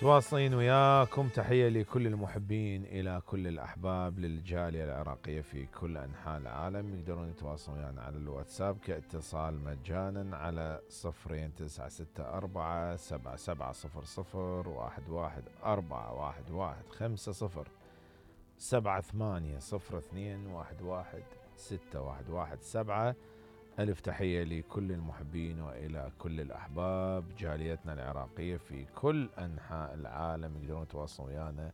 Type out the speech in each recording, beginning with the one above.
تواصلين وياكم، تحية لكل المحبين إلى كل الأحباب للجالية العراقية في كل أنحاء العالم. يقدرون يتواصلون يعني على الواتساب كاتصال مجانا على 0964-7700-1144-50 7802116117. ألف تحية لكل المحبين وإلى كل الأحباب جاليتنا العراقية في كل أنحاء العالم. يقدرون يتواصلون ويانا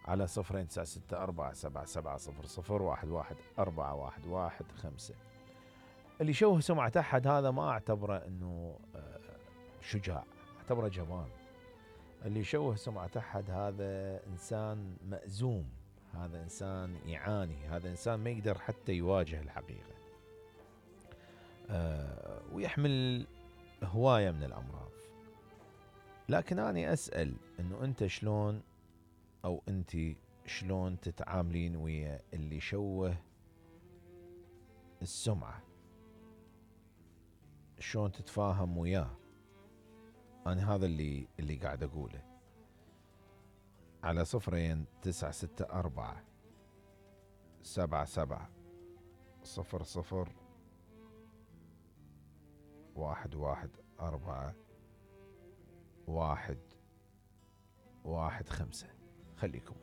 على 0964-7700-1144-50. اللي يشوه سمعة أحد هذا ما أعتبره أنه شجاع، أعتبره جبان. اللي يشوه سمعة أحد هذا إنسان مأزوم، هذا إنسان يعاني، هذا إنسان ما يقدر حتى يواجه الحقيقة، ويحمل هواية من الأمراض. لكن أنا أسأل أنه أنت شلون، أو أنت شلون تتعاملين ويا اللي يشوه السمعة؟ شلون تتفاهم وياه؟ أنا هذا اللي قاعد أقوله. على 0964-7700-1144-115. خليكم.